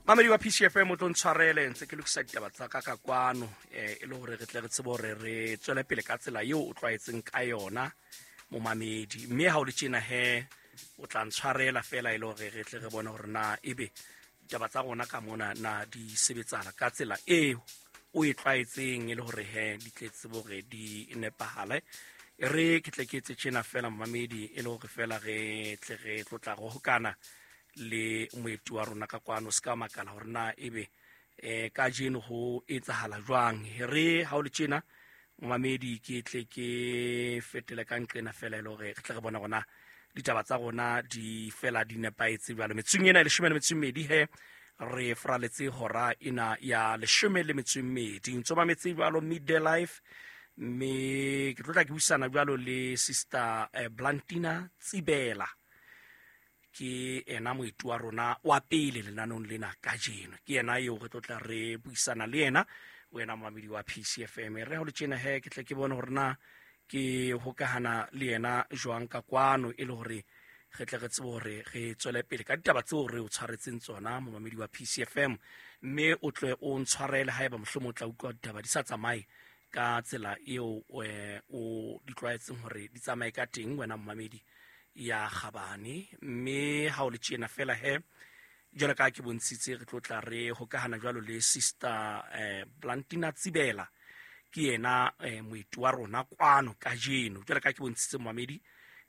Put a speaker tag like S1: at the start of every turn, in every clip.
S1: Mamedi wa PCFM, o tlo ntshwarele ntse ke lokisa ditaba tsa ka ka kwano, e le hore re tle re tsebe hore re tswele pele ka tsela eo o tlwaetseng ka yona, momamedi. Mme ha o le tjena he, o tla ntshwarela fela e le hore re tle re bone hore na ebe ditaba tsa rona ka mona na di sebetsana ka tsela eo o e tlwaetseng, e le hore he di tle tsebe hore di nepahale. E re ke tle ke etse tjena fela, momamedi, e le hore fela re tle re tlotla re hokana le moeti wa rona ka kwano. Se ka makala hore na ebe kajeno ho etsahala jwang. Re ha o le tjena, momamedi, ke tle ke fetele ka nqena fela e le hore re tle re bone rona ditaba tsa rona di fela di nepahetse jwalo. Metsong ena e 12 he re fraletse hora ena ya 12. Ntso mametse jwalo Midday Life, mme ke tlotla ke buisana jwalo le Sister Blantina Tsibela. Ke ena moeti wa rona wa pele lenaneong lena kajeno, ke yena eo re tlotla re buisana le yena, wena momamedi wa PCFM. Re ha o le tjena he, ke tle ke bone hore na ke hokahana le yena jwang ka kwano, e le hore re tle re tsebe hore re tswele pele ka ditaba tseo re o tshwaretseng tsona, momamedi wa PCFM. Mme o tle o ntshwarele haeba mohlomong o tla utlwa ditaba di sa tsamaye ka tsela eo o di tlwaetseng hore di tsamaye ka teng, wena momamedi ya kgabane. Mme ha o le tjena fela he, jwalo ka ke bontshitse, re tlo tla re hokahana jwalo le Sister Blantina Tsibela. Ke yena moeti wa rona kwano kajeno. Jwalo ka ke bontshitse, momamedi,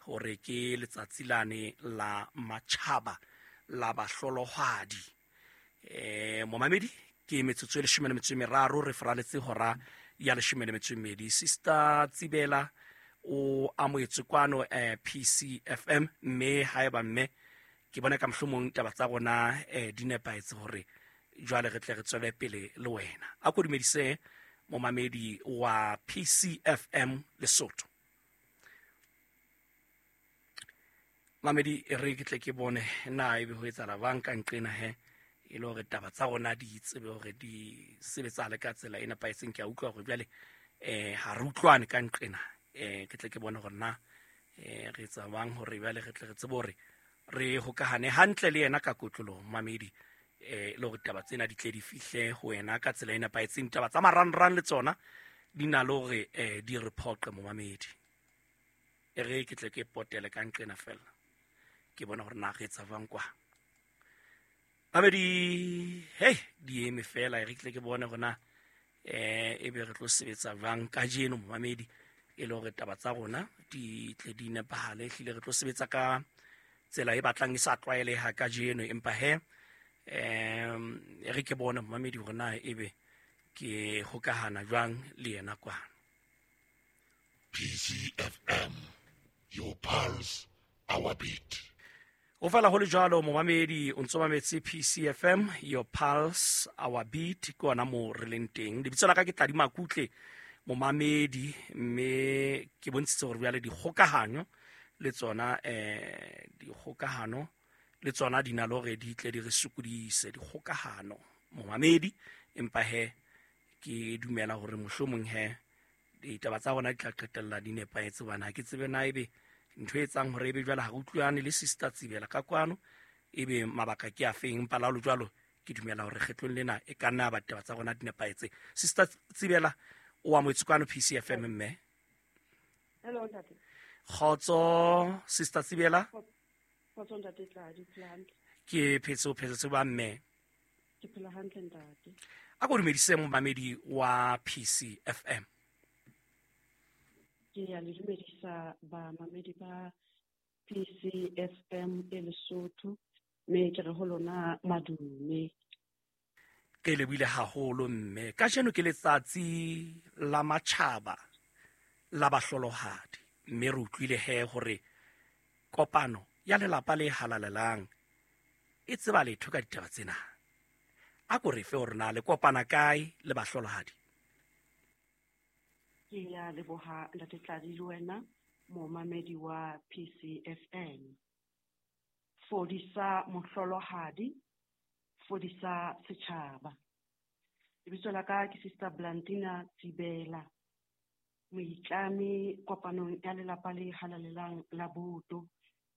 S1: hore ke letsatsi lane la matjhaba la bahlolohadi. Momamedi, ke metsotso e 13 re fraletse hora ya 12. Sister Tsibela o amohetswe kwano PCFM, mme haeba mme ke bona ka mohlomong taba tsa rona di nepahetse hore jwale re tle re tswele pele le wena. A ko dumedise momamedi wa PCFM Lesotho. Mamedi, e re ke tle ke bone na ebe ho etsahala bang ka nqena he, e le hore taba tsa rona di tsebe hore di sebetsahale ka tsela e nepahetseng. Ke a utlwa hore jwale ha re utlwane ka nqena. Ke tle ke bone hore na re etsa bang hore jwale re tle re tsebe hore re hokahane hantle le yena ka kotloloho, mamedi, le hore taba tsena di tle di fihle ho wena ka tsela e nepahetseng. Taba tsa marangrang le tsona di na le hore di re phoqe, momamedi. E re ke tle ke potele ka nqena fela ke bona hore na re etsa jwang kwa. Mamedi, hei, di eme fela. E re ke tle ke bone hore na ebe re tlo sebetsa jwang kajeno, momamedi, e le hore taba tsa rona di tle di nepahale. Ehlile re tlo sebetsa ka tsela e batlang e sa tlwaeleha kajeno, empa he e re ke bone, momamedi, hore na ebe ke hokahana jwang le yena kwano.
S2: PCFM, your pulse, our beat.
S1: Ho fela ho le jwalo, momamedi, o ntso mametse PCFM, your pulse, our beat. Ke ona mo re leng teng. Lebitso la ka ke Tladi Makutle, momamedi, mme ke bontshitse hore jwale dikgokahanyo le tsona, dikgokahano le tsona di na le hore di tle di re sokodise, dikgokahano, momamedi. Empa he ke dumela hore mohlomong he ditaba tsa rona di tla qetella di nepahetse, hobane ha ke tsebe na ebe ntho e etsang hore ebe jwale ha re utlwane le Sister Tsibela ka kwano ebe mabaka ke a feng. Empa la jwalo ke dumela hore kgetlong lena e ka nna ba ditaba tsa rona di nepahetse. Sister Tsibela, o amohetswe kwano PCFM, mme.
S3: Hello, ntate.
S1: Kgotso, Sister Tsibela.
S3: Kgotso, ntate Tladi, phela hantle?
S1: Ke phetse, o phetse ba, mme?
S3: Ke phela hantle, ntate.
S1: A ko dumedise momamedi wa PCFM.
S3: Ke ya le dumedisa bamamedi ba PCFM e Lesotho, mme ke re ho lona madume.
S1: Ke lebohile haholo, mme. Kajeno ke letsatsi la matjhaba la bahlolohadi, mme re utlwile he hore kopano ya lelapa le halalelang e tseba letho ka ditaba tsena. A ko re fe hore na le kopana kae le bahlolohadi.
S3: Ke ya leboha, ntate Tladi, le wena momamedi wa PCFM. Fodisa mohlolohadi, fodisa setjhaba. Lebitso la ka ke Sister Blantina Tsibela, moitlami kopanong ya lelapa le halalelang la Boto,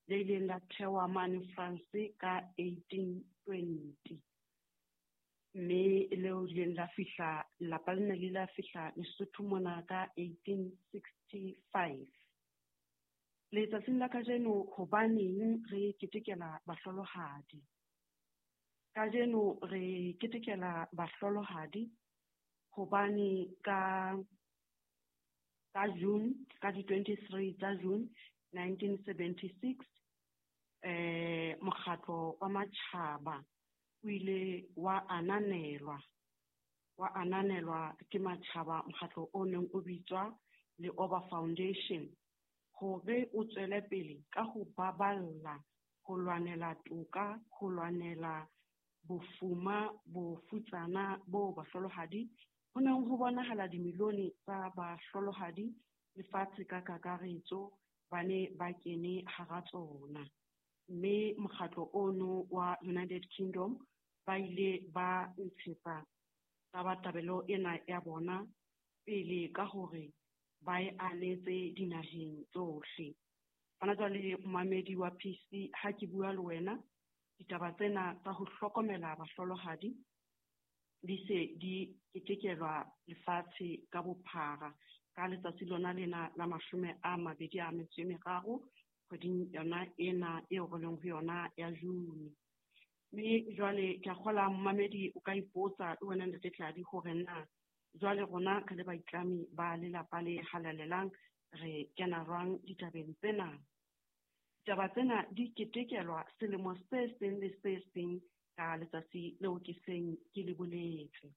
S3: le ileng la thewa mane France ka 1820. Leo ileng la fihla lelapa lena le la fihla Lesotho mona ka 1865. Letsatsing la kajeno hobaneng re ketekela bahlolohadi? Kajeno re ketekela bahlolohadi hobane ka June, ka di-23 tsa June 1976, mokgatlo wa matjhaba o ile wa ananelwa ke matjhaba, mokgatlo o neng o bitswa Leoba Foundation, hore o tswele pele ka ho baballa, ho lwanela toka, ho lwanela bofuma, bofutsana bo bahlolohadi. Ho neng ho bonahala dimilione tsa bahlolohadi lefatshe ka kakaretso ba ne ba kene hara tsona. Mme mokgatlo ono wa United Kingdom ba ile ba ntshetsa tabatabelo ena ya bona pele ka hore ba e anetse dinaheng tsohle. Hona jwale momamedi wa PC, ha ke bua le wena, ditaba tsena tsa ho hlokomela bahlolohadi di se di ketekelwa lefatshe ka bophara ka letsatsi lona lena la 23 kgweding yona ena eo re leng ho yona ya June. Mme jwale ke a kgola momamedi o ka ipotsa le wena Ntate Tladi hore na jwale rona re le baitlami ba lelapa le halalelang re kena jwang ditabeng tsena. Ditaba tsena di ketekelwa selemo se seng le se seng ka letsatsi leo ke seng ke le boletse.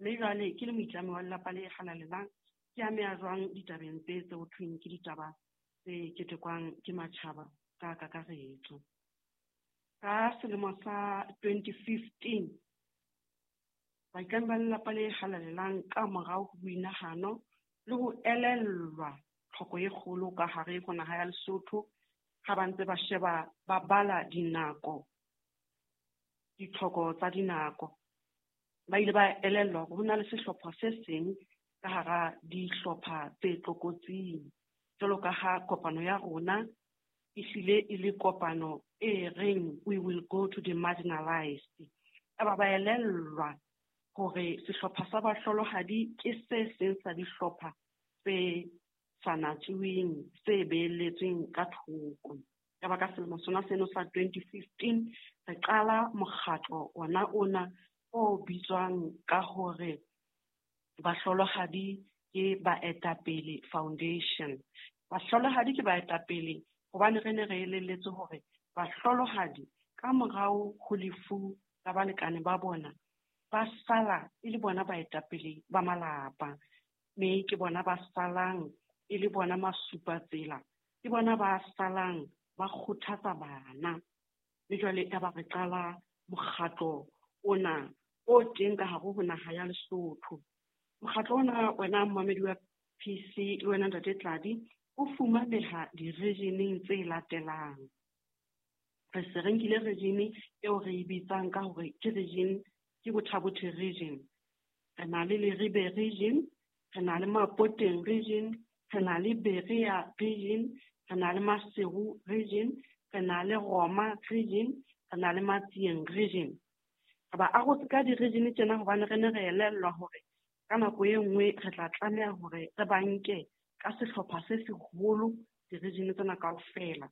S3: Mme jwale ke le moitlami wa lelapa le halalelang ke ameha jwang ditabeng tse ho thweng ke ditaba tse ketekwang ke matjhaba ka kakaretso. Ka selemo sa 2015, baitlami ba lelapa le halalelang ka morao ho boinahano le ho elellwa tlhoko e kgolo ka hare ho naha ya Lesotho, ha ba ntse ba sheba ba bala dinako, ditlhoko tsa dinako, ba ile ba elellwa hore ho na le sehlopha se seng ka hara dihlopha tse tlokotsing. Jwalo ka ha kopano ya rona ehlile e le kopano e reng we will go to the marginalized. Eba ba elellwa hore sehlopha sa bahlolohadi ke se seng sa dihlopha tse sa natsuweng, tse beeletsweng ka thoko. Eba ka selemo sona seno sa 2015 re qala mokgatlo ona ona o bitswang ka hore Bahlolohadi ke Baetapele Foundation. Bahlolohadi ke baetapele hobane re ne re elelletswe hore bahlolohadi ka morao ho lefu la balekane ba bona ba sala e le bona baetapele ba malapa, mme ke bona ba salang e le bona masupatsela, ke bona ba salang ba kgothatsa bana. Mme jwale eba re qala mokgatlo ona o teng ka hare ho naha ya Lesotho. Mokgatlo ona wena momamedi wa PC le wena Ntate Tladi o fumaneha di-regioneng tse latelang. Re se re nkile region eo re e bitsang ka hore ke region, ke Botha-Bothe region. Re na le Leribe region, re na le Mapoteng region, re na le Berea region, re na le Maseru region, re na le Roma region, re na le Matsieng region. Re ba arotse ka di-region tsena hobane re ne re elellwa hore ka nako e nngwe re tla tlameha hore re ba nke ka sehlopha se seholo di-region tsena kaofela.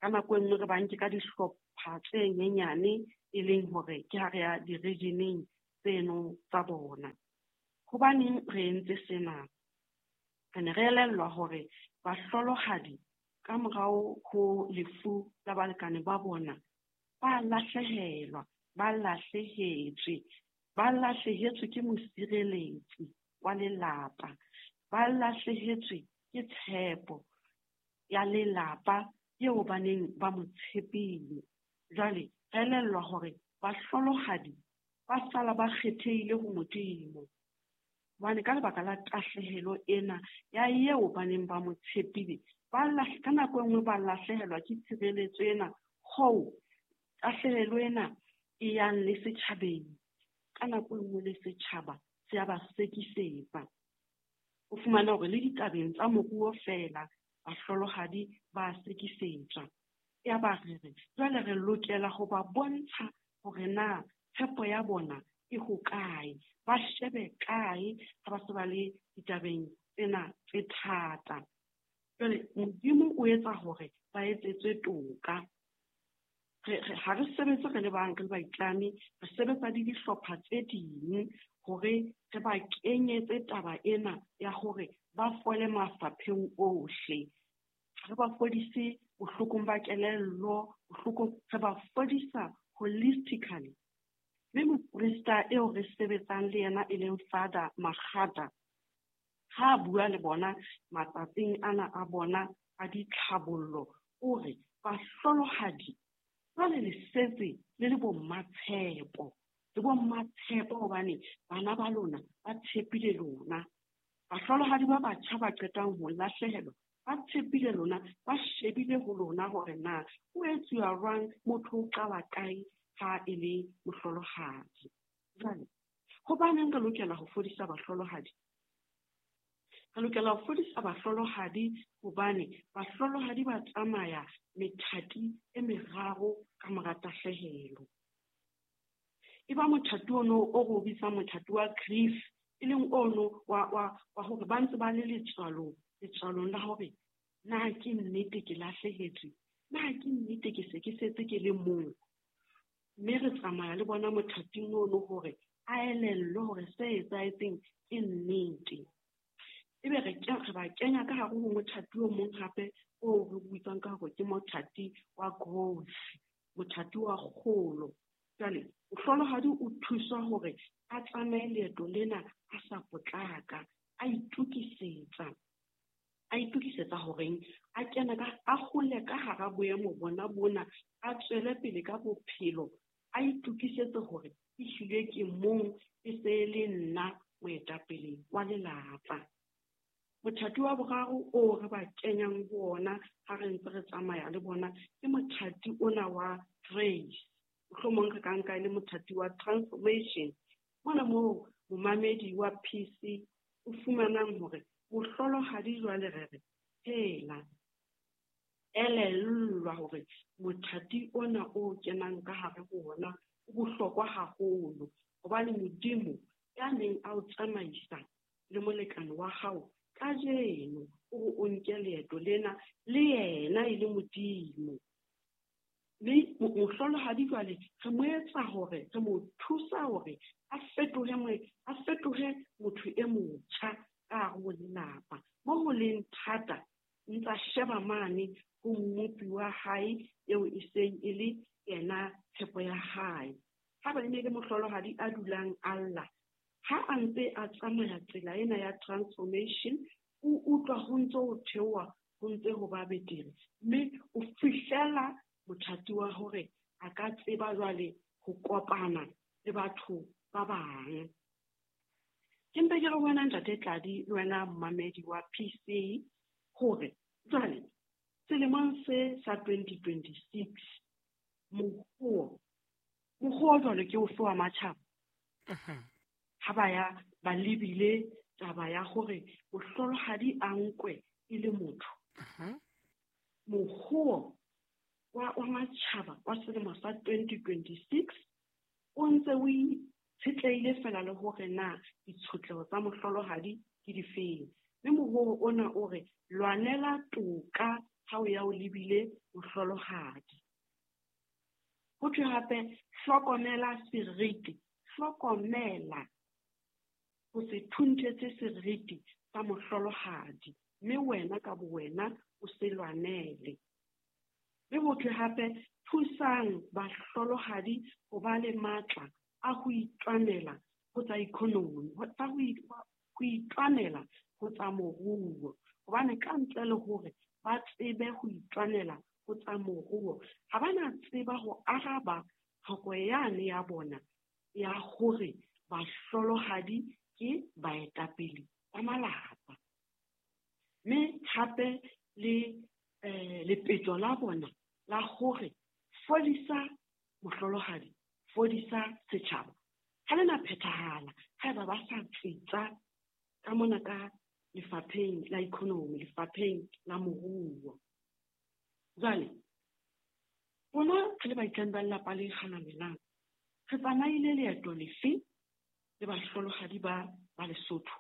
S3: Ka nako e nngwe re ba nke ka dihlopha tse nyenyane e leng hore ke ha re ya di-regioneng tseno tsa bona. Hobaneng re entse sena? Re ne re elellwa hore bahlolohadi ka morao ho lefu la balekane ba bona ba lahlehelwa, ba lahlehetswe, ba lahlehetswe ke mosireletsi wa lelapa, ba lahlehetswe ke tshepo ya lelapa eo ba neng ba mo tshepile. Jwale re elellwa hore bahlolohadi ba sala ba kgethehile ho Modimo, hobane ka lebaka la tahlehelo ena ya eo ba neng ba mo tshepile, ka nako e nngwe ba lahlehelwa ke tshireletso ena, hoo tahlehelo ena e yang le setjhabeng. Ka nako e nngwe le setjhaba se a ba sekisetsa. O fumana hore le ditabeng tsa moruo feela bahlolohadi ba sekisetswa. Ya ba re re jwale re lokela ho ba bontsha hore na tshepo ya bona e hokae, ba shebe kae ha ba se ba le ditabeng tsena tse thata. Jwale Modimo o etsa hore ba etsetswe toka. Ha re sebetse re le bang, re le baitlami, re sebetsa le dihlopha tse ding hore re ba kenyetse taba ena ya hore ba fole mafapheng ohle. Re ba fodise bohlokong ba kelello, bohlokong, re ba fodisa holistically. Mme moprista eo re sebetsang le yena e leng Father Magada, ha a bua le bona matsatsing ana a bona a ditlhabollo, o re bahlolohadi jwale le setse le le bo mmatshepo, le bo mmatshepo hobane bana ba lona ba tshepile lona. Bahlolohadi ba batjha ba qetang ho lahlehelwa ba tshepile lona, ba shebile ho lona hore na ho etsuwa jwang, motho o qala kae ha e le mohlolohadi. Jwale hobaneng re lokela ho fodisa bahlolohadi? Re lokela ho fodisa bahlolohadi hobane bahlolohadi ba tsamaya methati e meraro ka mora tahlehelo. E ba mothati ono o re o bitsang mothati wa grief, e leng ono wa hore ba ntse ba le letswalong la hore na ke nnete ke lahlehetswe, na ke nnete ke se ke setse ke le mong. Mme re tsamaya le bona mothating ono hore a elellwe hore se etsahetseng ke nnete. Ebe re ba kenya ka hare ho mothati o mong hape o re bitsang ka hore ke mothati wa growth, mothati wa kgolo. Jwale mohlolohadi o thuswa hore a tsamaye leeto lena a sa potlaka, a itokisetsa horeng a kene ka, a hole ka hara boemo bona bona, a tswele pele ka bophelo, a itokisetse hore ehlile ke mong, e se le nna moetapele wa lelapa. Mothati wa boraro o re ba kenyang ho ona ha re ntse re tsamaya le bona ke mothati ona wa grace. Mohlomong re ka nka e le mothati wa transformation. Mona moo momamedi wa PC o fumanang hore mohlolohadi jwale re re hela, elellwa hore mothati ona o kenang ka hare ho ona o bohlokwa haholo, hobane Modimo ya neng a o tsamaisa le molekane wa hao kajeno o re o nke leeto lena le yena e le Modimo. Mme mohlolohadi jwale re mo etsa hore, re mo thusa hore a fetohe motho e motjha ka hare ho lelapa. Mo ho leng thata, ntsa sheba mane ho mmopi wa hae eo e seng e le yena tshepo ya hae. Ha ba ne le mohlolohadi a dulang a lla, ha a ntse a tsamaya tsela ena ya transformation, o utlwa ho ntse ho theoha, ho ntse ho ba betere, mme o fihlela mothati wa hore a ka tseba jwale ho kopana le batho ba bang. Ke mpe ke re wena Ntate Tladi le wena mmamedi wa PC hore jwale selemong se sa 2026 mohuo jwale ke ofe wa matjhaba? Ha ba ya ba lebile taba ya hore mohlolohadi a nkwe e le motho. Mohuo wa matjhaba wa selemo sa 2026 o ntse o itshetlehile fela le hore na ditshotleho tsa mohlolohadi ke difeng. Mme mohuo ona o re lwanela toka ha o ya o lebile mohlolohadi. Ho thwe hape hlokomela seriti, hlokomela ho se thunthetse seriti sa mohlolohadi, mme wena ka bowena o se lwanele. Mme ho thwe hape thusang bahlolohadi ho ba le matla a ho itwanela ho tsa economy, ho itwanela ho tsa moruo. Hobane ka ntle le hore ba tsebe ho itwanela ho tsa moruo, ha ba na tseba ho araba tlhoko yane ya bona ya hore bahlolohadi ke baetapele ba malapa. Mme hape le lepetjo la bona la hore fodisa mohlolohadi, fodisa setjhaba, ha le na phethahala haeba ba sa tsitsa ka mona ka lefapheng la economy, lefapheng la moruo. Jwale rona re le baitlami ba lelapa le halalelang, re tsamaile leeto lefe le bahlolohadi ba ba Lesotho?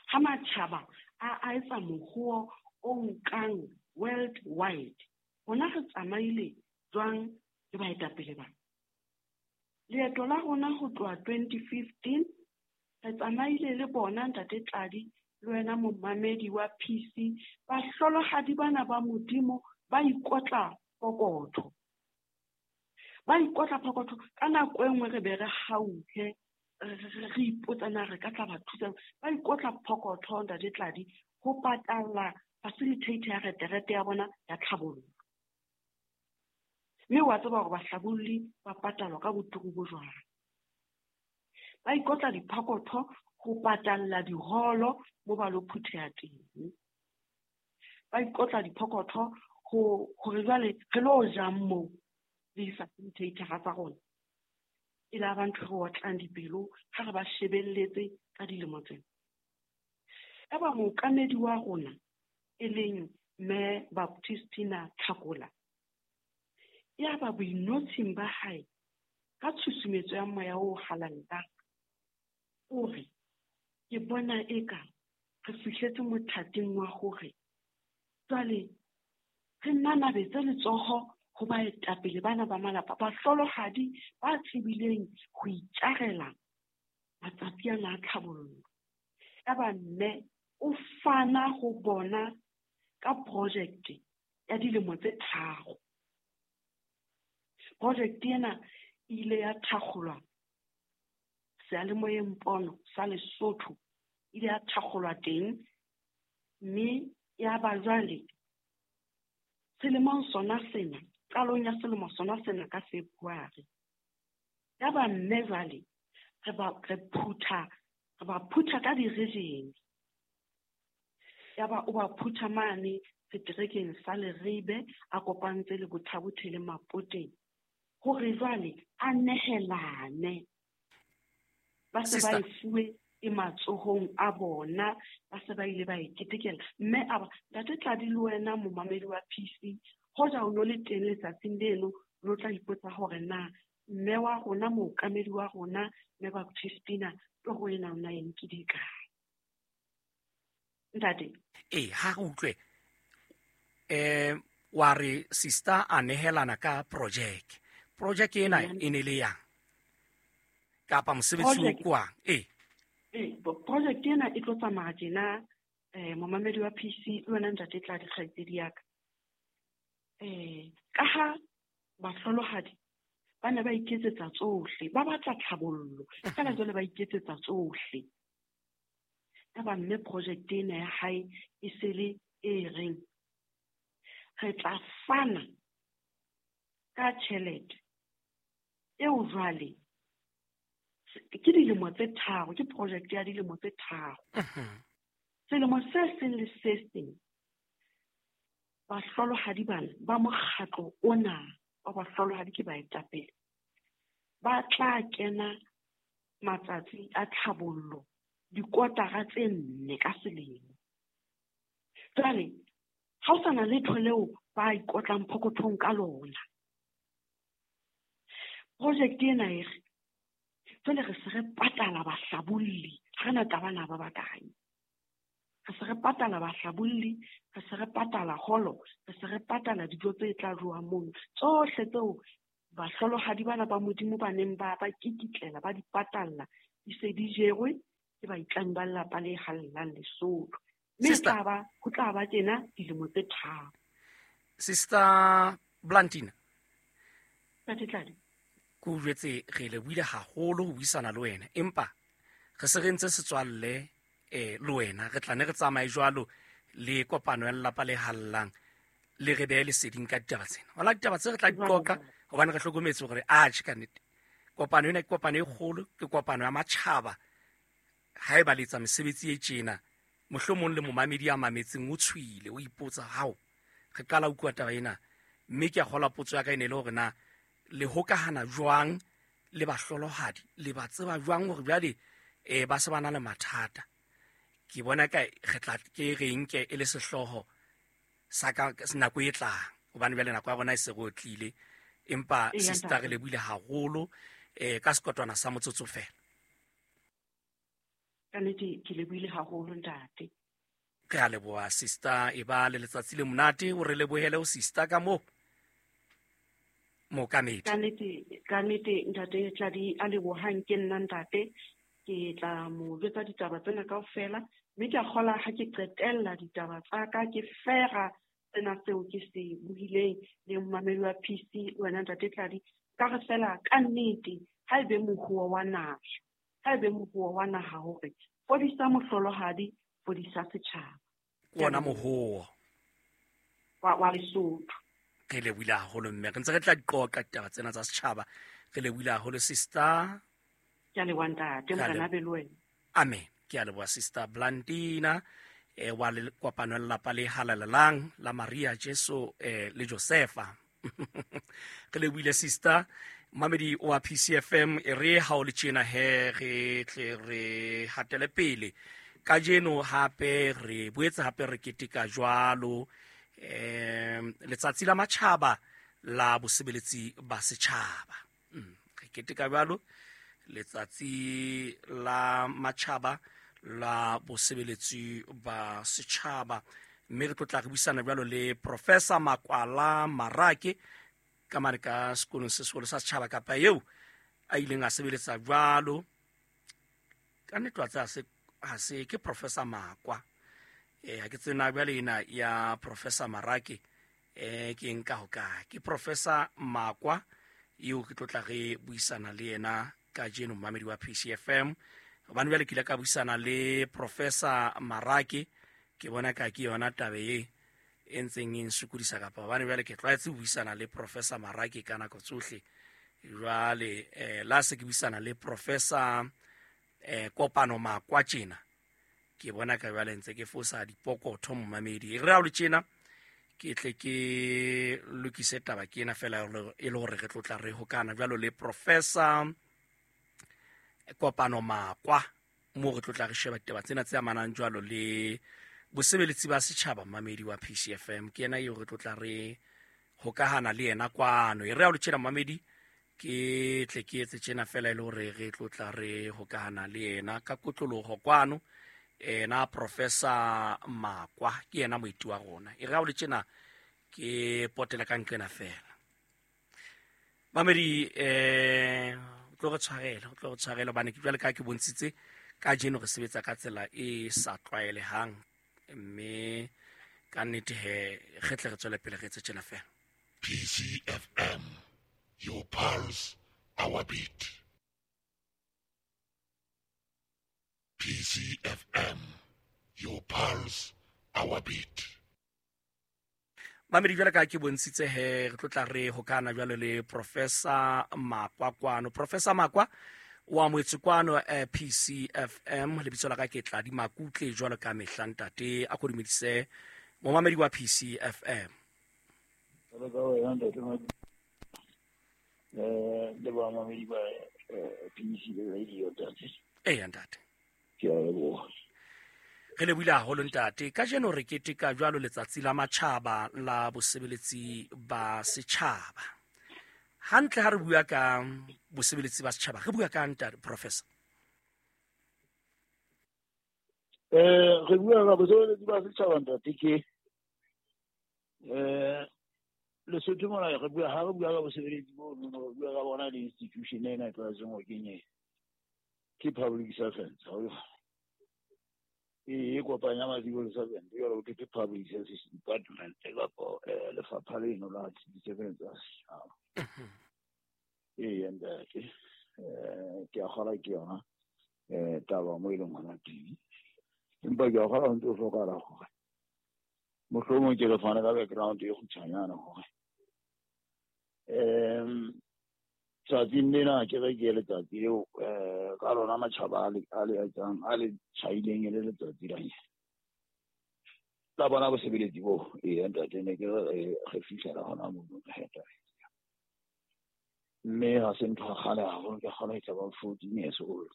S3: Ha matjhaba a etsa mohoo o nkang worldwide, rona re tsamaile jwang le baetapele ba? Leeto la rona ho tloha 2015 re tsamaile le bona ntate Tladi le wena momamedi wa PC. Bahlolohadi bana ba Modimo ba ikotla pokotho. Ba ikotla pokotho ka nako e nngwe re be re hauhe, re ipotsa na re ka tla ba thusa. Ba ikotla pokotho ntate Tladi ho patalla facilitator ya reterete ya bona ya tlhabollo. Mme wa tseba hore bahlabolli ba patalwa ka boturu bo jwang. Ba ikotla dipokotho ho patalla diholo mo ba lo phutheha teng. Ba ikotla dipokotho hore jwale re lo jang moo le di-facilitator tsa rona. E la ba ntho re otlang dipelo ha re ba shebelletse ka dilemo tsena. Eba mookamedi wa rona e leng Mme Baptistina Tlhakola, ya ba boinotshing ba hae ka tshusumetso ya moya o halalelang, o re ke bona eka re fihletse mothating wa hore jwale re nanabetse letsoho ho baetapele bana ba malapa, bahlolohadi ba tsebileng ho itjarela matsatsi ana a tlhabollo. Yaba mme o fana ho bona ka project ya dilemo tse 3. Project ena e ile ya thakgolwa seyalemoyeng pono sa Lesotho, ile ya thakgolwa teng, mme ya ba jwale selemong sona sena, qalong ya selemo sona sena ka February. Ya ba mme jwale re ba phutha ka di-region. Ya ba o ba phutha mane seterekeng sa Leribe, a kopantse le Bothabothe le Mapoteng, hore jwale a nehelane. Ba se ba e fuwe e matsohong a bona, ba se ba ile ba e ketekela. Mme a ba ntate Tladi le wena momamedi wa PC, hoja o no le teng letsatsing leno, lo tla ipotsa hore na mme wa rona, mookamedi wa rona, mme Baptistina, toro ena o na e nkile kae? Ntate.
S1: Ee, ha re utlwe. Wa re sister a nehelana ka project. Project ena e ne le yang? Kapa mosebetsi o kwang? Ee.
S3: Project ena e tlo tsamaya tjena, momamedi wa PC le wena ntate Tladi kgaitsedi ya ka. Ka ha bahlolohadi ba ne ba iketsetsa tsohle, ba batla tlhabollo, fela jwale ba iketsetsa tsohle. Yaba mme project ena ya hae e se le e reng re tla fana ka tjhelete eo jwale ke dilemo tse 3, ke project ya dilemo tse 3. Selemo se seng le se seng bahlolohadi bana ba mokgatlo ona wa bahlolohadi ke baetapele ba tla kena matsatsi a tlhabollo dikotara tse 4 ka selemo. Jwale ha o sa na letho leo ba ikotlang phokothong ka lona. Project ena e re jwale re se re patala bahlabolli, ha re na taba na ba bakae. Re se re patala bahlabolli, re se re patala holo, re se re patala dijo tse tla jowang mono. Tsohle tseo bahlolohadi bana ba Modimo ba neng ba kikitlela, ba di patalla, di se di jerwe ke baitlami ba lelapa le hallelang Lesotho. Mme ho tla ba tjena dilemo tse 3.
S1: Sister Blantina.
S3: Ntate Tladi.
S1: Ke o jwetse re lebohile haholo ho buisana le wena, empa re se re ntse setswalle le wena, re tla ne re tsamaye jwalo le kopano ya lelapa le hallang, le re behe leseding ka ditaba tsena. Hona ditaba tse re tla di qoqa hobane re hlokometse hore atjhe ka nnete kopano ena ke kopano e kgolo, ke kopano ya matjhaba. Haeba le etsa mesebetsi e tjena, mohlomong le momamedi ya mametseng o tshwile, o ipotsa hao re qala ho utlwa taba ena. Mme ke a kgolwa potso ya ka e ne le hore na le hokahana jwang le bahlolohadi, le ba tseba jwang hore jwale ba se ba na le mathata. Ke bona ka re tla ke re nke e le sehlooho sa ka nako e tlang, hobane jwale nako ya rona e se re otlile. Empa sister re lebohile haholo ka sekotwana sa motsotso fela.
S3: Ka nnete ke lebohile haholo ntate.
S1: Ke a leboha sister, e ba le letsatsi le monate, o re lebohele o sister ka moo mookamedi.
S3: Ka nnete ntate Tladi a lebohang ke nna ntate. Ke tla mo jwetsa ditaba tsena kaofela, mme ke a kgola ha ke qetella ditaba tsa ka ke fera sena seo ke se buileng le momamedi wa PC le wena ntate Tladi. Ka re fela ka nnete ha ebe mohuo wa naha, ha ebe mohuo wa naha hore fodisa mohlolohadi, fodisa setjhaba.
S1: Ke ona mohuo
S3: wa Lesotho.
S1: Re lebohile haholo mme re ntse re tla di qoqa ditaba tsena tsa setjhaba. Re lebohile haholo sister.
S3: Ke a leboha ntate, Morena be le wena.
S1: Amen. Ke a leboha sister Blandina wa le kopano ya lelapa le halalelang la Maria Jesu le Josefa. Re lebohile sister. Mamedi wa PCFM e re ha o le tjena he re tle re hatele pele. Kajeno hape re boetse hape re keteka jwalo letsatsi la matjhaba la bosebeletsi ba setjhaba. Re keteka jwalo letsatsi la matjhaba la bosebeletsi ba setjhaba, mme re tlo tla re buisana jwalo le Professor Makwala Marake ka mane ka sekolong se seholo sa setjhaba kapa eo a ileng a sebeletsa jwalo. Ka nnete wa tseba ha se ke Professor Makwa. Ha ke tsena jwale ena ya Professor Marake ke nka ho kae. Ke Professor Makwa eo ke tlo tla re buisana le yena kajeno momamedi wa PCFM. Hobane jwale ke ile ka buisana le Professor Marake, ke bona ka ke yona taba e e ntseng e nsokodisa kapa hobane jwale ke tlwaetse ho buisana le Professor Marake ka nako tsohle. Jwale la se ke buisana le Professor Kopano Makwa tjena, ke bona ka jwale ntse ke fosa dipokotho momamedi. E re ha o le tjena ke tle ke lokise taba ke ena fela e le hore re tlo tla re hokana jwalo le Professor Kopano Makwa, mo re tlo tla re sheba ditaba tsena tse amanang jwalo le bosebeletsi ba setjhaba. Mamedi wa PCFM ke yena eo re tlo tla re hokahana le yena kwano. E re ha o le tjena mamedi ke tle ke etse tjena fela e le hore re tlo tla re hokahana le yena ka kotloloho kwano. Ena Professor Makwa ke yena moeti wa rona. E re ha o le tjena ke potela ka nqena fela. Mamedi o tlo re tshwarela, o tlo re tshwarela hobane ke jwale ka ke bontshitse kajeno re sebetsa ka tsela e sa tlwaelehang, mme ka nnete he re tle re tswele pele re etse tjena fela.
S2: PCFM, your pulse, our beat. PCFM, your pulse, our beat.
S1: Mamedi jwale ka ke bontshitse he re tlo tla re hokana jwale le Professor Makwa kwano. Professor Makwa o amohetse kwano PCFM. Lebitso la ka ke Tladi Makutle jwalo ka mehla ntate. A ko dumedise momamedi wa PCFM.
S4: Jwalo ka wena ntate le bamamedi ba PC Radio ntate.
S1: Eya ntate.
S4: Ke a leboha.
S1: Re lebohile haholo ntate. Kajeno re keteka jwalo letsatsi la matjhaba la bosebeletsi ba setjhaba. Hantle ha re bua ka bosebeletsi ba setjhaba, re bua ka ntate Professor?
S4: Re bua ka bosebeletsi ba setjhaba ntate ke Lesotho mona re bua ha re bua ka bosebeletsi bo no re bua ka bona le institution ena e tlwaetseng ho kenye ke public servants. E kopanya ma-civil servant jwalo ke public service department kapa lefapha leno la ditshebeletso tsa setjhaba. Ee ntate, ke a kgolwa ke yona taba mo e leng hona teng, empa ke a kgolwa ho ntse ho hlokahala hore mohlomong ke re fane ka background e kgutshwanyane hore tsatsing lena ke re ke letsatsi leo ka lona matjhaba a le etsang a le tjhaileng e le letsatsi la la bona bosebeletsi bo. Ee ntate, ne ke re fihlela hona mono mme ha se ntho ya kgale haholo, ke kgona ho etsa ba 14 years old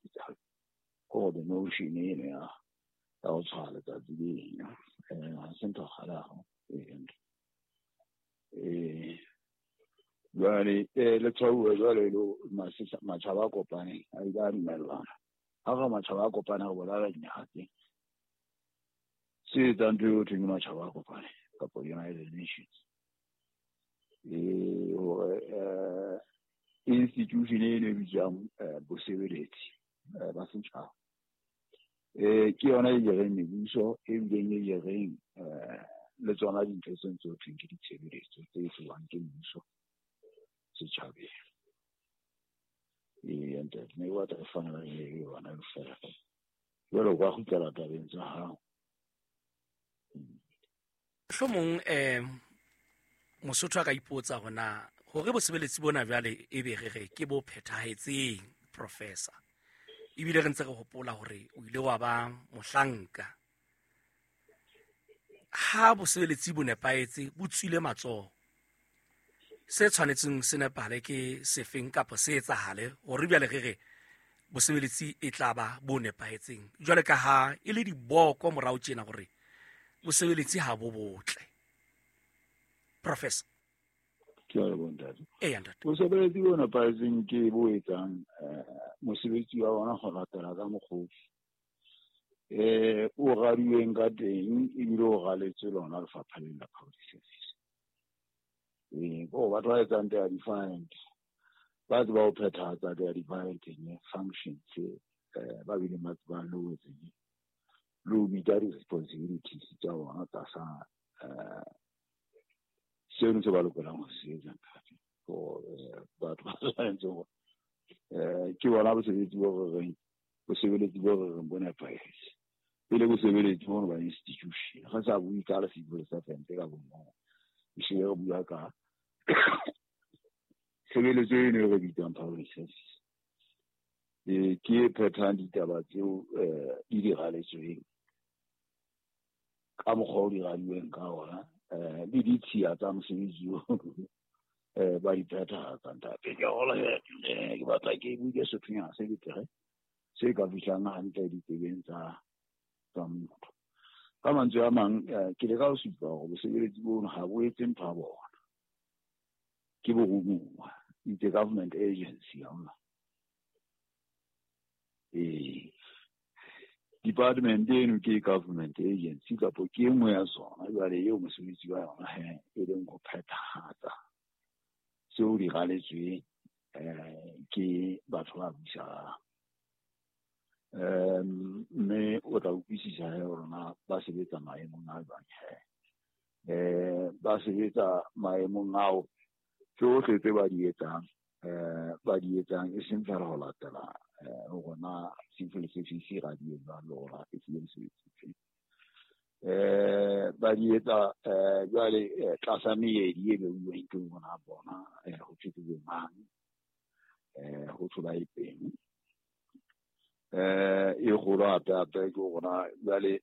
S4: ko the notion eno ya ho tshwara letsatsi leno. Ha se ntho ya kgale haholo. Ee jwale le tshwauwe jwale lo matjhaba a kopaneng a ile a dumellana Ha re matjhaba a kopane re bolela dinaha tse se etsang ntho eo thweng ke matjhaba a kopane kapa United Nations. Hore institution eno e bitswang bosebeletsi ba setjhaba ke yona e jereng mebuso, e bileng e jereng le tsona dintho tse ntse ho thweng ke ditshebeletso tse etsuwang ke mmuso setjhabeng. Ee, ntate, ne ke batla re fane ka yona feela. Jwale o ka kgutlela tabeng tsa hao.
S1: Mohlomong Mosotho a ka ipotsa hore na hore bosebeletsi bona jwale e be re re ke bo phethahetseng, professor. Ebile re ntse re hopola hore o ile wa ba mohlanka. Ha bosebeletsi bo nepahetse, bo tswile matsoho, se tshwanetseng se nepahale ke sefeng kapa se etsahale hore jwale re re bosebeletsi e tla ba bo nepahetseng, jwale ka ha e le diboko morao tjena hore bosebeletsi ha bo botle. Professor.
S4: Ke a leboha, ntate.
S1: Eya, ntate.
S4: Bosebeletsi bo nepahetseng ke bo etsang mosebetsi wa bona go latela ka mokgwa o radiweng ka teng, ebile o raletswe lona lefapha lena la public service. Bo batho ba etsang their defined, ba tseba ho phethahatsa their defined functions, ba bileng ba tsebang le ho etseng le ho bitsa di-responsibilities tsa bona tlasa seno se ba lokelang ho se etsa, ntate. Batho ba tshwanetse hore ke bona bosebeletsi bo re reng, bosebeletsi bo re reng bo nepahetse. Pele bosebeletsi bona ba institution, re sa bue ka le civil servant ka bomong, ehlile re bua ka tshebeletso eno e re bitsang public service. Ke e phethang ditaba tseo di di raletsweng ka mokgwa o di radiweng ka ona, le ditshiya tsa mosebetsi oo ba di phethahatsa, ntate. Ke hola ke batla ke bue sethonyana se betere se ka fihlang hantle ditsebeng tsa motho. Ka mantswe a mang, ke leka ho supa hore bosebeletsi bono ha bo etse ntho ya bona, ke boromuwa. It's a government agency ya ona. Department eno ke government agency kapa ke e nngwe ya tsona jwale eo mosebetsi wa yona he e leng ho phethahatsa seo di raletsweng ke batho ba busang. Mme o tla utlwisisa he hore na ba sebetsa maemong a jwang he. Ba sebetsa maemong ao tsohle tse ba di etsang, ba di etsang e seng feela ho latela hore na civil service e radiwe jwang le hore e fuwe mosebetsi ofe. Ba di etsa jwale tlasa meedi e beuweng ke bona bona, ho thwe ke bo mang, ho thwe ba etseng. E kgolo hape hape ke hore na jwale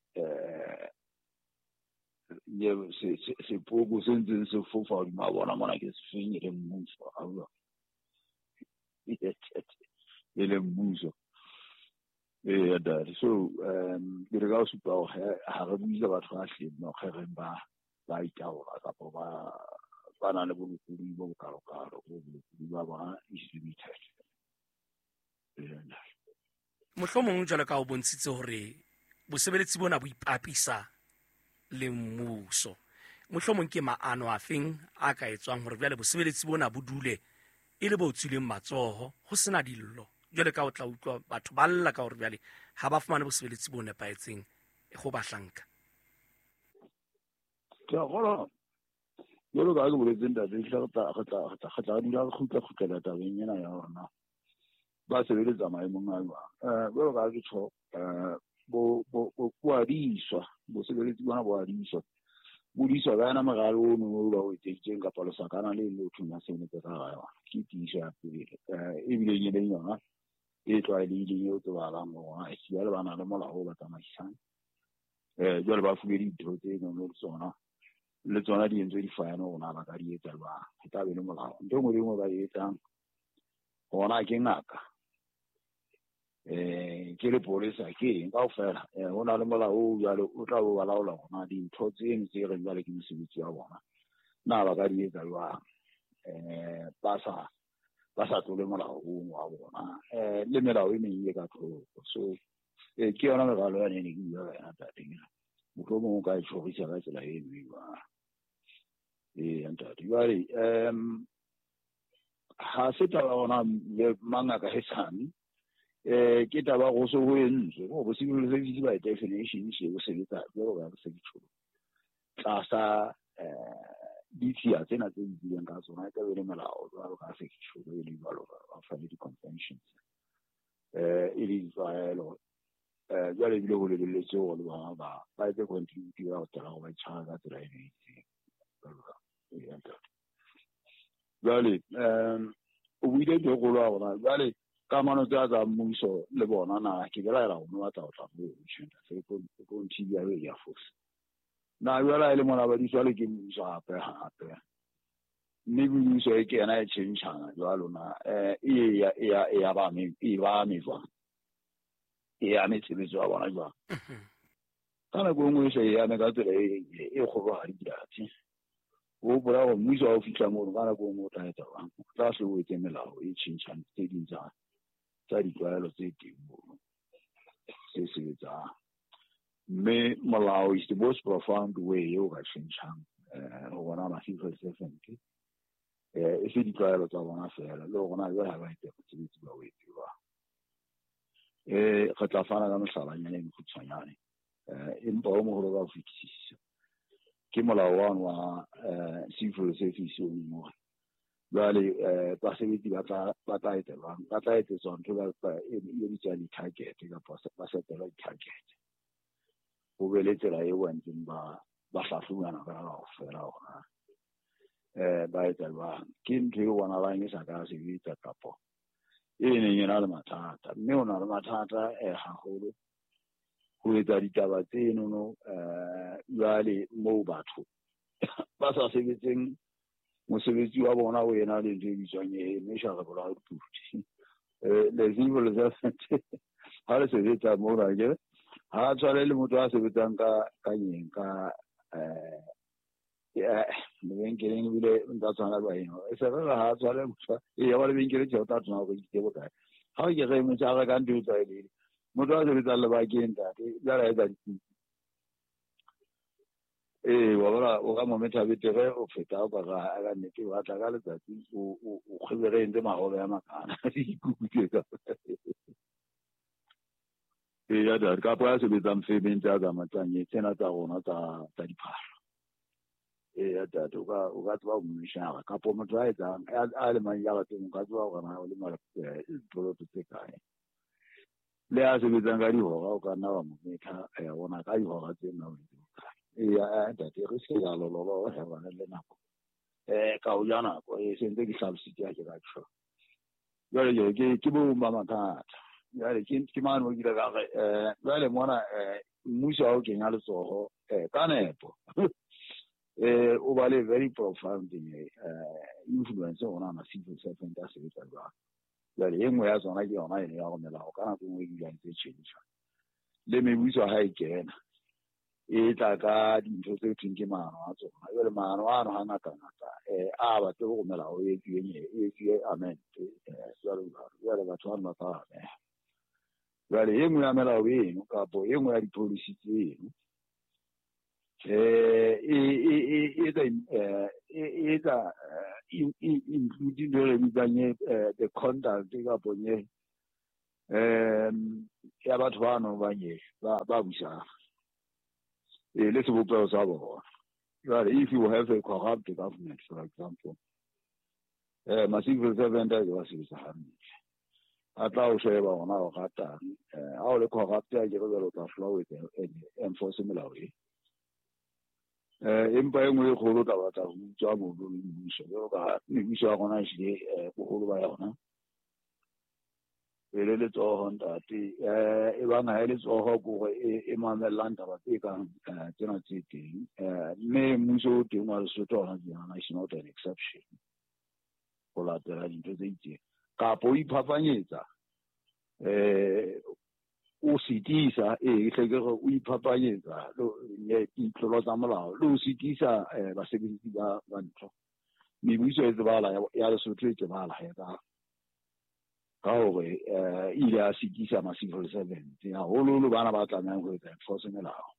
S4: sepoko se ntseng se fofa hodima bona mona ke sefeng, e leng mmuso, a utlwa? E leng mmuso. Eya, ntate. So ke leka ho supa hore ha re bue ka batho ba hlileng no re reng ba itaola kapa ba na le bolokolohi bo bokalokalo, bo bolokolohi ba bona is limited. Eya, ntate.
S1: Mohlomong jwalo ka o bontshitse hore bosebeletsi bona bo ipapisa le mmuso, mohlomong ke maano a feng a ka etswang hore jwale bosebeletsi bona bo dule e le bo tswileng matsoho, ho sena dillo, jwale ka o tla utlwa batho ba lla ka hore jwale ha ba fumane bosebeletsi bo nepahetseng go bahlanka?
S4: Ke a kgolwa jwalo ka ha ke boletse, ntate, ehlile re tla dula re kgutla-kgutlela tabeng ena ya hore na ba sebeletsa maemong a jwang. Jwalo ka ha ke tjho, bo a diswa, bosebeletsi bona bo a diswa. Bo diswa ka yona meralo ono o ba o etseditsweng kapa lesakana le le ho thweng ba sebeletse ka hara yona. Ke tiiso ya pele, ebileng e leng yona e tlwaelehileng eo tsebahalang hore jwale ba na le molao o ba tsamaisang. Jwale ba fuwe dintho tse nono le tsona, le tsona di entswe di-fine hore na ba ka di etsa jwang. E tla be le molao. Ntho e nngwe le e nngwe ba e etsang, hona ke ngaka, ke lepolesa, ke eng kaofela, ho na le molao o jwale o tla bo ba laola hore na dintho tseno tse reng jwale ke mosebetsi wa bona na ba ka di etsa jwang, ba sa Ba sa tlole molao o wa bona le melao e meng e ka tlhoko. So ke yona meralo ya ne ke bua ka yona ntate. Mohlomong o ka e tjhorisa ka tsela e nngwe jwang. Ee ntate, jwale ha se taba ona le mangaka hesane ke taba go se ho entswe go civil service by definition se o sebetsa jwalo ka se ke tlasa ditshiya tsena tse buileng ka tsona, e ka be le melao jwalo ka se ke e le jwalo ka fa le di-conventions e le ditlwaelo. Jwale ebile ho lebelletswe hore le bona ba etse contribute ya ho tsela go ba itshwara ka tsela e itseng. Jwale o buile ntho e kgolo ya rona jwale kamano tsa tsa mmuso le bona na ke belaela go batla go tla mo tjhenta se ko nthibi ya ya force na jwale e le mona ba di jwale ke mmuso hape hape mme mmuso e ke yena e tjhentjhana jwalo na e ya ba me e ba me jwang e ya me tshebetso ya bona jwang ka nako e nngwe se e ame ka tsela e kgolohadi diatse. O hopola hore mmuso ha o fihla mono ka nako e nngwe o tla etsa jwang, o tla se o etse melao e tjhentjhang tse ding tsa ditlwaelo tse teng mono tse sebetsang. Mme molao is the most profound way eo ka tjhentjhang ho bona ma-civil servant e se ditlwaelo tsa bona feela le hore na jwale ha ba etse mosebetsi ba o etse jwang. Re tla fana ka mohlalanyana e mokgutshwanyane empa o moholo ka ho fetisisa ke molao wa civil service o mong. Jwale basebetsi ba tla etelwang ba tla etsetswa ntho e bitswang di-target kapa ba setelwa di-target. Ho be le tsela eo ba ntseng ba hlahlobana ka kaofela hore ba etsa jwang. Ke ntho e bonahalang e sa ka sebetsa kapa e neng e na le mathata, mme o na le mathata haholo ho etsa ditaba tsenono jwale moo batho ba sa sebetseng mosebetsi wa bona o ena le ntho e bitswang e measurable output. Le civil servant ha le sebetsa mona ke ha tshwane le motho a sebetsang ka nyeng ka lebenkeleng ebile nka tshwana le baeno e se re ha tshwane motho e ya ba lebenkeleng tjhe o tla tshwana hore ke bokae. Ha o ke re motho a reka ntho e tlwaelehileng, motho a sebetsang lebakeng ntate jwale a etsa dikuku. Wa bona o ka mo metha betere o feta o ka ka nnete o batla ka letsatsi o kgwebere entse mahobe a makana dikuku tse ka. Ya ntate, kapa ya sebetsang femeng tsa tsamatsang tsena tsa rona tsa diphahlo. Ya ntate, o ka tseba ho mmeshara kapa motho a etsang a lemang jareteng o ka tseba hore na o lema dipoloto tse kae. Le a sebetsang ka dihora o ka nna wa mo metha ona ka dihora tse nna o ntse bokae. Ya ntate, re se ya lololo he bana le nako ka o ja nako e sentse ke hlalositse ha ke ka tjho. Jwale ke bo ba mathata. Jwale ke mane o kile ka re jwale mona mmuso ha o kenya letsoho ka nepo o ba le very profound influence ona na civil servant a sebetsa jwang. Jwale e nngwe ya tsona ke yona eno ya go melao ka nako e nngwe e dula ntse tjhentjha. Le mebuso ha e kena e tla ka dintho tse thweng ke maano a tsona. Jwale maano ano hangata-ngata a batle go melao e etsuwe amend jwalo jwalo. Jwale batho bano ba tla ameha. Jwale e nngwe ya melao eno kapo e nngwe ya di-policy tseno e etsa including ntho e re bitsang the conduct kapo nye ya batho bano ba nye ba busang le sebopeho sa bona. Jwale if you have a corrupt government, for example, ma-civil servant a ba sebetsa hantle, a tla o sheba hona o ratang ha o le corrupt a ke re jwale o tla hlola o etsa enforce melao e. Empa e nngwe e kgolo o tla batla ho utswa mono le mmuso jwalo ka mebuso ya rona ehlile boholo ba yona e le letsoho ntate e bang ha e letsoho ke hore e mamellang taba tse kang tsena tse teng. Mme mmuso o teng wa Lesotho hona tjena is not an exception ho latela dintho tse itseng kapa o iphapanyetsa o sitisa e hle ke re o iphapanyetsa ditlolo tsa molao le o sitisa basebetsi ba ntho. Mebuso e tsebahala ya Lesotho e tsebahala he ka Ka hore ile a sitisa ma-civil servant haholoholo bana ba tlamehang ho etsa enforce melao.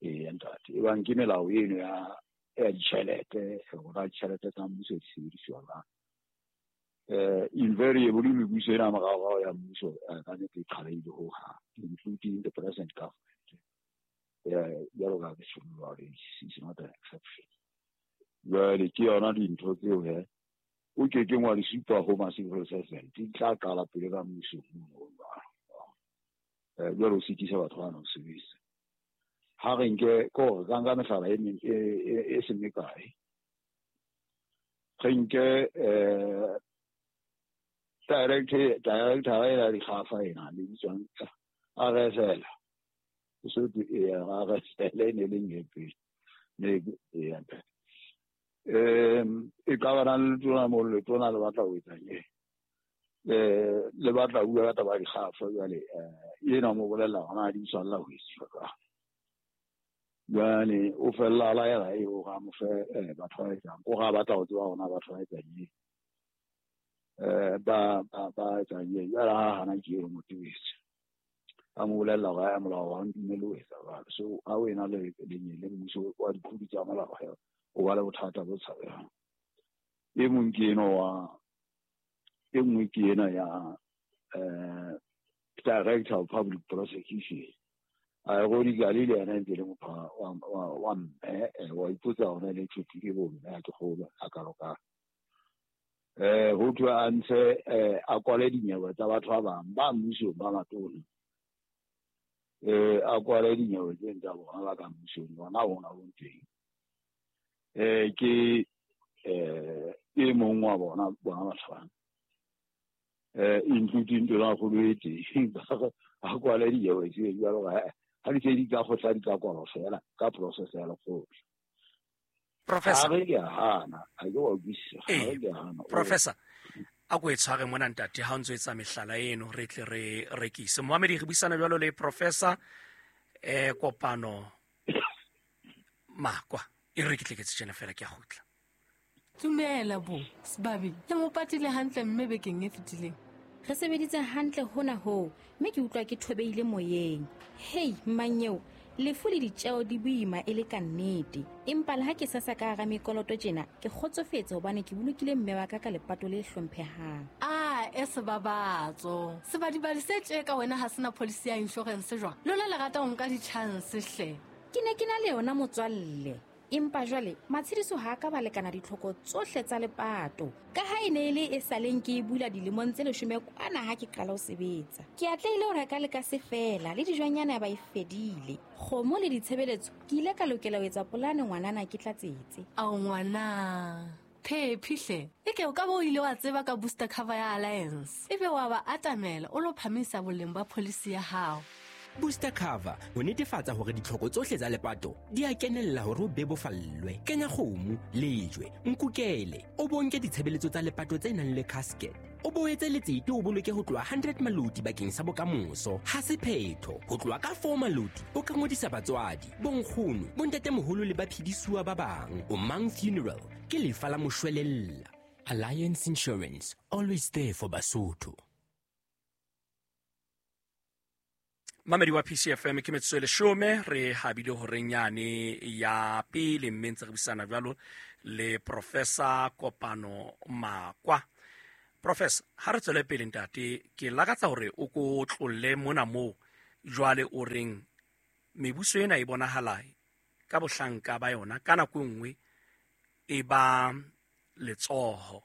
S4: Eya ntate, ebang ke melao eno ya ditjhelete, hore ditjhelete tsa mmuso di sebediswa jwang. Invariably mebuso ena moraorao ya mmuso ka nnete e qhalehile hohang, including the present government. Jwalo ka ke tjho jwalo, it's not an exception. Jwale ke yona dintho tseo he o ke keng wa di supa ho ma-civil servant, di tla qala pele ka mmusong mono jwalo. Jwale o sitisa batho bana ho sebetsa. Ha re nke ke hore ka nka mehlala e meng e seng mekae. Re nke director ena dikgafa ena le bitswang RSL. So RSL e ne leng e pele. Ne e e ka ba le tona mo le tona le batla ho etsa eng? Le batla bua ka taba ya dikgafa jwale ena mo bolella hona di tshwanela ho etsuwa jwang. Jwale o fella a laela e o ga mo fe batho ba etsang, o ga batla ho tseba hona batho ba etsang eng. Ba etsang eng. Jwale ha hana ke eo motebetse. A mo bolella hore a molao wa ntumelle ho etsa jwalo. So ha o ena le le mmuso wa diphodi tsa molao o ba le bothata bo tshabehang. E mong ke eno wa e nngwe ke ena ya Director of Public Prosecution. Ironically le yena ntse le motho wa mme, wa ipotsa hona le tjhutile bo mme ha ke kgolwe a ka loka. Ho thwe a ntshe a kwale dinyewe tsa batho ba bang ba mmusong ba matona. A kwale dinyewe tse tsa bona ba ka mmusong bona bona bo teng. Ke e mong wa bona batho bana. Including tona kgolo e teng a kwale dinyewe tse jwalo ha di se di ka kgotla di ka kwalwa fela ka process ya lekgotla.
S1: Professor,
S4: ha re ke hana, ha ke wa utlwisisa, ha re ke hana.
S1: Professor, a ko e tshware mona ntate ha o ntso etsa mehlala eno re tle re rekise. Moamedi re buisana jwalo le Professor Kopano Makwa. E re ke tle ke tjena fela ke a kgutla.
S5: Dumela bo, Sebabi, le mo patile hantle mme bekeng e fetileng.
S6: Re sebeditse hantle hona hoo, mme ke utlwa ke thobeile moyeng. Hei, mmanyeo, lefu le ditjeo di boima e le ka nnete. Empa le ha ke sasa ka hara mekoloto tjena, ke kgotsofetse hobane ke bolokile mme wa ka ka lepato le hlomphehang.
S5: Ah, e sebabatso. Sebadibadi se tje ka wena ha sena policy ya insurance jwang? Lona le rata ho nka di-chance hle.
S6: Ke ne ke na le yona motswalle. Empa jwale matshediso ha ka ba lekana ditlhoko tsohle tsa lepato. Ka ha e ne e le e saleng ke e bula dilemong tse 10 kwana ha ke qala ho sebetsa. Ke atlehile ho reka le ka se fela le dijwanyana ba e fedile. Kgomo le ditshebeletso ke ile ka lokela ho etsa polane ngwanana ke tlatsetse.
S5: Ao ngwana, phephi hle. Eke o ka bo ile wa tseba ka booster cover ya Alliance. Ebe wa ba atamela o lo phamisa boleng ba policy ya hao.
S7: Booster cover ho netefatsa hore ditlhoko tsohle tsa lepato di a kenella hore o bebofallwe. Kenya kgomo, lejwe, nkukele, o bonke ditshebeletso tsa lepato tse nang le casket. O boetse letsete o boloke ho tloha 100 maloti bakeng sa bokamoso. Ha se phetho, ho tloha ka 4 maloti o ka ngodisa batswadi, bonkgono, bontatemoholo le baphedisuwa ba bang. O Mang Funeral ke lefa la moshwelella. Alliance Insurance, always there for Basotho.
S1: Mamedi wa PCFM ke metsotso e 10 re habile horeng yane ya pele mme ntse re buisana jwalo le Professor Kopano Makwa. Professor, ha re tswele pele ntate, ke lakatsa hore o ko tlolle mona moo jwale o reng mebuso ena e bonahala ka bohlanka ba yona ka nako e nngwe e ba letsoho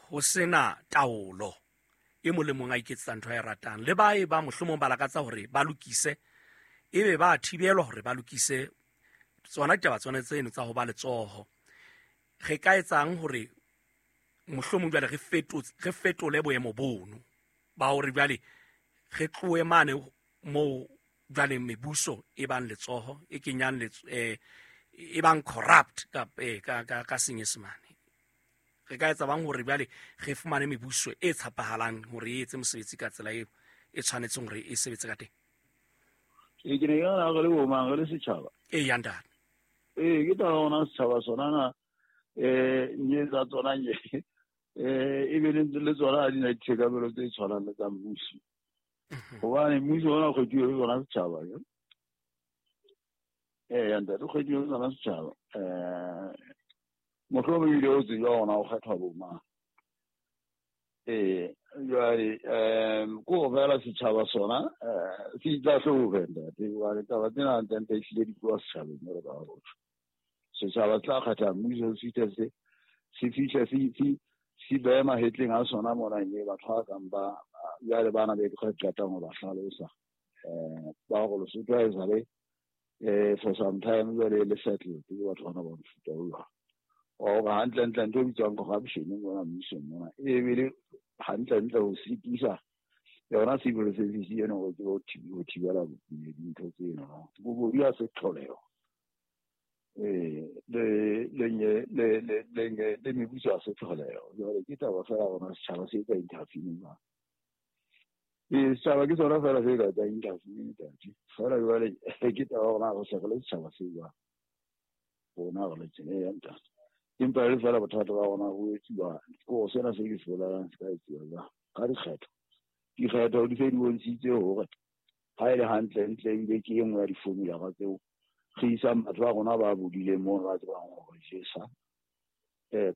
S1: ho sena taolo. E mong le mong a iketsetsa ntho a e ratang. Le ba e ba mohlomong ba lakatsa hore ba lokise, ebe ba thibelwa hore ba lokise tsona ditaba tsona tseno tsa ho ba letsoho. Re ka etsang hore mohlomong jwale re fetole boemo bono ba hore jwale re tlohe mane moo jwale mebuso e bang letsoho e kenyang e bang corrupt ka Senyesemane. Re ka etsa bang hore jwale re fumane mebuso e tshepahalang hore e etse mosebetsi ka tsela eo e tshwanetseng hore e sebetse ka teng?
S4: E ke ne ke nahana re le bo mang, re le setjhaba.
S1: E ya ntate.
S4: Ee, ke taba hona setjhaba sona na, nye tsa tsona nye. E be le tsona ha di na ditshekamelo tse tshwanang le tsa mmuso. Hobane mmuso ona o kgethuwe ke sona setjhaba. Eya ntate, o kgethuwe ke sona setjhaba. Mohlomong ebile o tsejwa hona o kgethwa bo mang. Ee, jwale ke ho fela setjhaba sona se itlahlobe ntate, hobane taba tsena hantlentle ehlile di tloha setjhabeng jwalo ka ha ho tjho. Setjhaba se tla kgetha mmuso se fihle se fihle se behe mahetleng a sona mona mme batho ba kang ba jwale bana be ke qetang ho ba hlalosa ba hore Lesotho ha esale for some time jwale le settled ke batho bana ba mofuta o jwalo. Hore hantlentle ntho e bitswang corruption mona mmusong mona e bile hantlentle ho sitisa yona civil service eno hore tsebe ho thibela dintho tseno. Bobodu ha se tlholeho. Le le mebuso ha se tlholeho. Jwale ke taba fela rona setjhaba se etsa intervene jwang. Ee, setjhaba ke sona fela se ka etsang intervene ntate. Fela jwale ke taba rona re se re le setjhaba se jwang. Rona re le tsela ya ntate. Empa e le fela bothata ba rona ho etsuwa ke hore sena se ke se bolelang se ka etsuwa jwang ka dikgetho. Dikgetho di se di bontshitse hore ha e le hantle-ntle ebile ke e nngwe ya di-formula tseo re isang batho ba rona ba bodileng mono ba tsebang hore jesa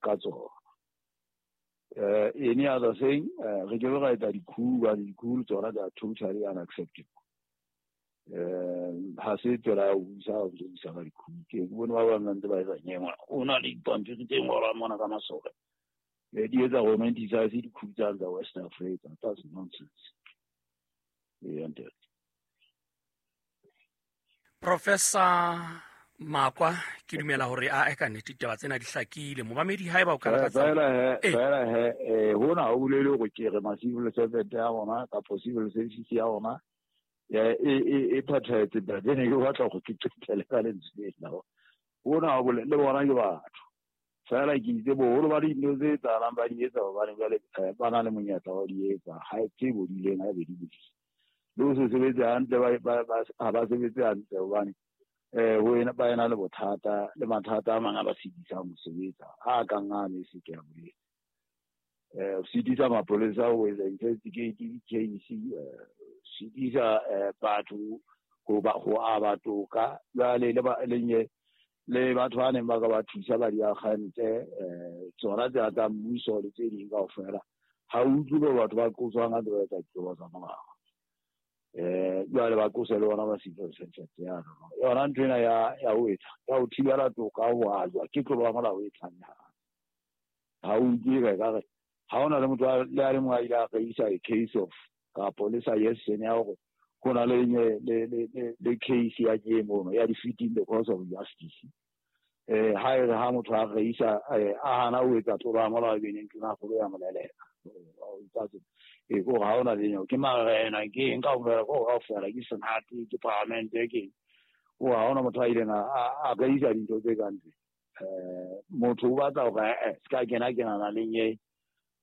S4: ka tsona. Any other thing, re ke be ra etsa di-coup, hobane di-coup tsona they are totally unacceptable. Ha se tsela ya ho busa, ha o ntso busa ka di-coup. Ke bone ba bang ba ntse ba etsa nyewe mona. O na le dipampiri tse ngolwang mona ka masole. Di etsa romanticize di-coup tsane tsa West Africa. That's nonsense. Ee, ntate.
S1: Professor Makwa, ke dumela hore a ka nnete ditaba tsena di hlakile. Momamedi haeba o ka lakatsa
S4: Fela he, hona ha o bolele hore ke re ma-civil servant ya rona kapa civil service ya rona e phethahetse ntate. Ne ke batla hore ke qetelle ka lentswe lena. Hona ha o bolele le bona ke batho. Fela ke itse boholo ba dintho tse etsahalang ba di etsa hobane jwale ba na le monyetla wa ho di etsa. Ha tse bodileng ha ebe di bodile. Le ho se sebetse hantle ha ba sebetse hantle hobane ba ena le bothata le mathata a mang a ba sitisang ho sebetsa a kang a ne se ke a boletse. Ho sitisa mapolesa ho etsa investigate di-case, sitisa batho ho aba toka. Jwale le batho ba neng ba ka ba thusa ba diakgante, tsona tsena tsa mmuso le tse ding kaofela. Ha o utlwe bo batho ba qoswang ha ntse ba etsa ditlolo tsa molao. Jwale ba qose le bona ba civil servant ya rona. Yona ntho ena ya ho etsa, ya ho thibela toka ho ajwa ke tlolo ya molao e tlamehang. Ha o utlwe ka ekare ha hona le motho le a le mong a ile a reisa a case of kapo le suggestion ya hore ho na le le case ya ke mono ya defeating the cause of justice. Ha e re ha motho a reisa a hana ho etsa tlolo ya molao e be neng tona kgolo ya moleleka. E ko ha hona le ke marena ke eng kaofela ko kaofela ke senate ke parliamente ke eng. O ha hona motho a ileng a reisa dintho tse kang tse. Motho o batla hore se ka kena kenana le nye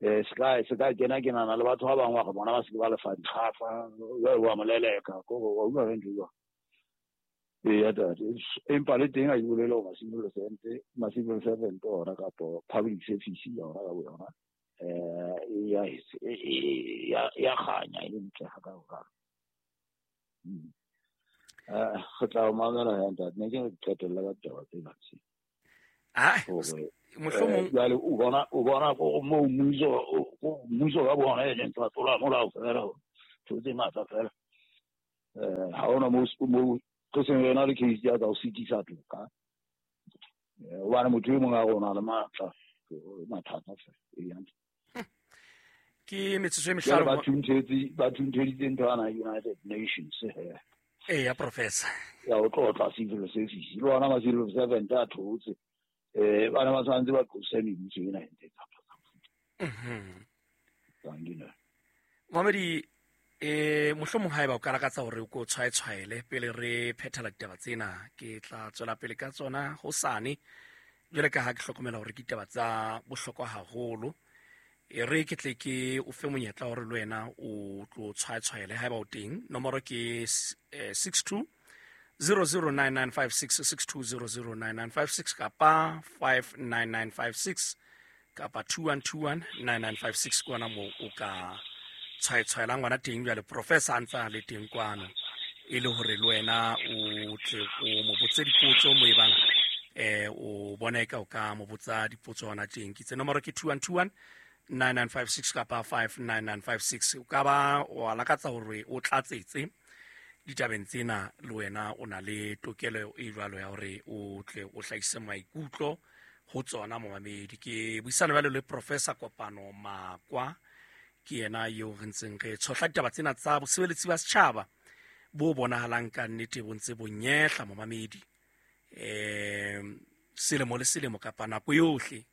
S4: se ka kena kenana le batho ba bang wa re bona ba se ke ba lefa dikgafa jwale wa moleleka ko wa utlwa ge ntho e jwang. Eya tate, empa le teng ha ke bolele hore ma-civil servant ona kapo public service yona ka boyona ya kganya e le ntle ha ka hokalo. Re tla o mamela ya ntate, ne ke re qetelle ka ditaba tsena tse.
S1: Mohlomong
S4: Jwale o bona ko moo mmuso ka bona e leng tsa tlola molao fela, ntho tse ngata fela. Ha hona moo re seng re na le case ya tsa ho sitisa toka. Hobane motho e mong a rona le matla, mathata fela. Ee, hantle.
S1: Ke metsotso e
S4: Jwale
S1: mehlano.
S4: Ba thuntheditse ntho yana United Nations he.
S1: Eya, Professor.
S4: Ya ho tlotla civil service. Le ona ma civil servant a thotse. Ba ne ba tshwanetse ba qose mebuso ena e ntse e tsamaya.
S1: Momamedi, mohlomong haeba o ka lakatsa hore o ko tshwaetshwaele pele re phethela ditaba tsena, ke tla tswela pele ka tsona hosane. Jwale ka ha ke hlokomela hore ke ditaba tsa bohlokwa haholo, e re ke tle ke o fe monyetla hore le wena o tlo tshwaetshwaele haeba o teng. Nomoro ke 62 009956, 62009956 kapa 59956. Kapa 2121 9956 ke ona moo o ka tshwaetshwaelang ngwana teng. Jwale professor a ntse a le teng kwano, e le hore le wena o tle o mo botse dipotso mo ebang o bona eka o ka mo botsa dipotso hona teng. Ke tse nomoro ke 2121 9956 kapa 59956. O ka ba wa lakatsa hore o tlatsetse ditabeng tsena, le wena o na le tokelo e jwalo ya hore o tle o hlahise maikutlo ho tsona. Momamedi, ke buisana jwale le Professor Kopano Makwa, ke yena eo re ntseng re tshohla ditaba tsena tsa bosebeletsi ba setjhaba bo bonahalang ka nnete bo ntse bo nyehla, momamedi, selemo le selemo kapa nako yohle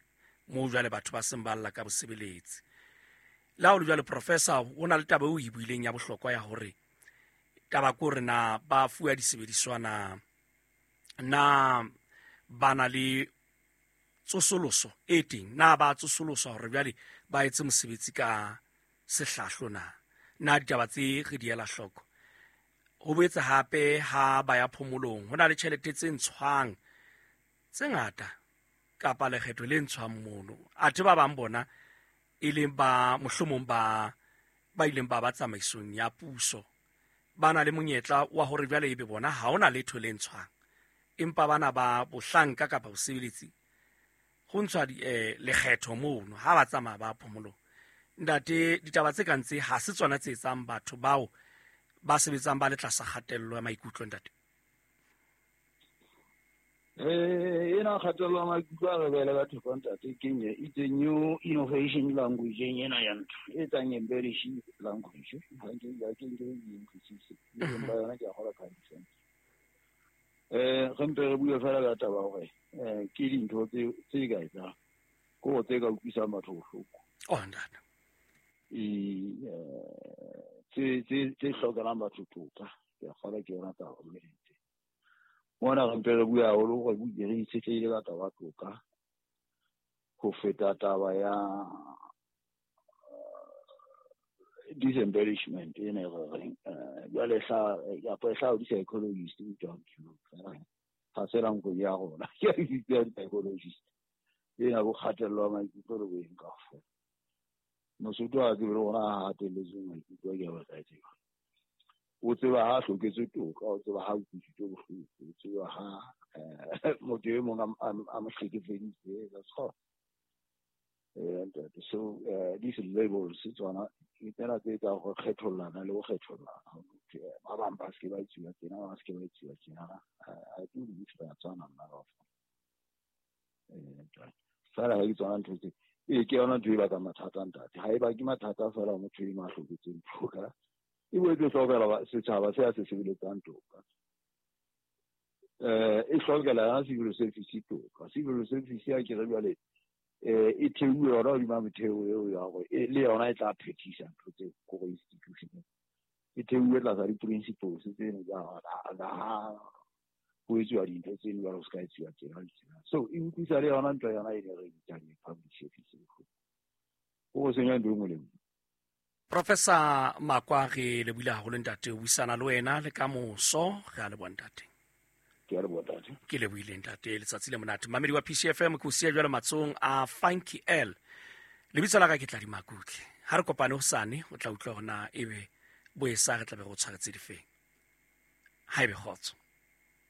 S1: moo jwale batho ba seng ba lla ka bosebeletsi. Le ha o le jwale, professor, o na le taba eo o e buileng ya bohlokwa ya hore taba ke hore na ba fuwa disebediswa, na ba na le tsosoloso e teng, na ba tsosoloswa hore jwale ba etse mosebetsi ka sehlahlo, na ditaba tse re di ela hloko. Ho boetse hape ha ba ya phomolong ho na le tjhelete tse ntshwang tse ngata kapa lekgetho le ntshwang mono, athe ba bang bona e leng ba mohlomong ba ileng ba ba tsamaisong ya puso ba na le monyetla wa hore jwale ebe bona ha hona letho le ntshwang, empa bana ba bohlanka kapa bosebeletsi ho ntshwa lekgetho mono ha ba tsamaya ba phomolong. Ntate, ditaba tse kang tse ha se tsona tse etsang batho bao ba sebetsang ba le tlasa kgatello ya maikutlo, ntate?
S4: Ena kgatello ya maikutlo a re beele batho ka, ntate, ke nye it's a new innovation language ena ya ntho e etsang embellish language. Ha ke ya ke nke e utlwisise empa yona ke a kgola ka sense. Re mpe re bue fela ka taba hore ke dintho tse ka etsang ke hore tse ka utlwisang batho bohloko.
S1: Oh, ntate.
S4: Tse hlokelang batho toka, ke a kgola ke yona taba mme mona re mpe re bue haholo gore re itshetlehile ka taba toka ho feta taba ya disembellishment ena e re reng jwale kapa e hlaha di-psychologist ga se language ya rona ke ya di-psychologist ena bo kgatello ya maikutlo le boeng kaofela. Mosotho ha tsebe le rona ha hatelletswe maikutlo ke a batla tseba. O tseba ha hloketswe toka, o tseba ha utlwisitswe bohloko, o tseba ha motho e mong a mo hlekefeditse. That's all. So these labels tsona ke tsena tse etsang go kgethollana le go kgethollana. Ba bang ba se ke ba etsuwa tjena, ba se ke ba etsuwa tjena. I do believe re a tshwana nna kaofela. Fela ha ke tsona ntho tse ke yona ntho e bakang mathata, ntate. Ha e bake mathata fela motho eno a hloketseng toka, e boetse e hlokela setjhaba se a se sebeletsang toka. E hlokela yona civil service toka. Civil service ya ke re jwale e theuwe yona hodima metheo eo ya hore le yona e tla phethisa ntho tse kore institution e theuwe tlasa di-principles tseno tsa ha ho etsuwa dintho tseno jwale ho se ka etsuwa tsena le tsena. So e utlwisa le yona ntho yona e ne re bitsang public service bohloko. Ho senya ntho e nngwe le nngwe.
S1: Professor Makwa, re lebohile haholo ntate, o buisana le wena le ka moso. Re a leboha ntate.
S4: Ke a leboha ntate.
S1: Ke lebohile ntate, letsatsi le monate. Mamedi wa PCFM, ke o siya jwale matsohong a Funky L. Lebitso la ka ke Tladi Makutle. Ha re kopane hosane, o tla utlwa hore na ebe boesa re tla be re o tshwaretse difeng. Ha ebe kgotso.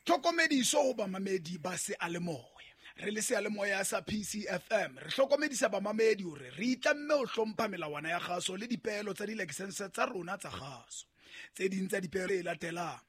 S8: Tlhokomediso ho bamamedi ba seyalemoya. Re le seyalemoya sa PCFM re hlokomedisa bamamedi hore re itlamme ho hlompha melawana ya kgaso le dipeelo tsa dilakesense tsa rona tsa kgaso. Tse ding tsa dipeelo e latelang.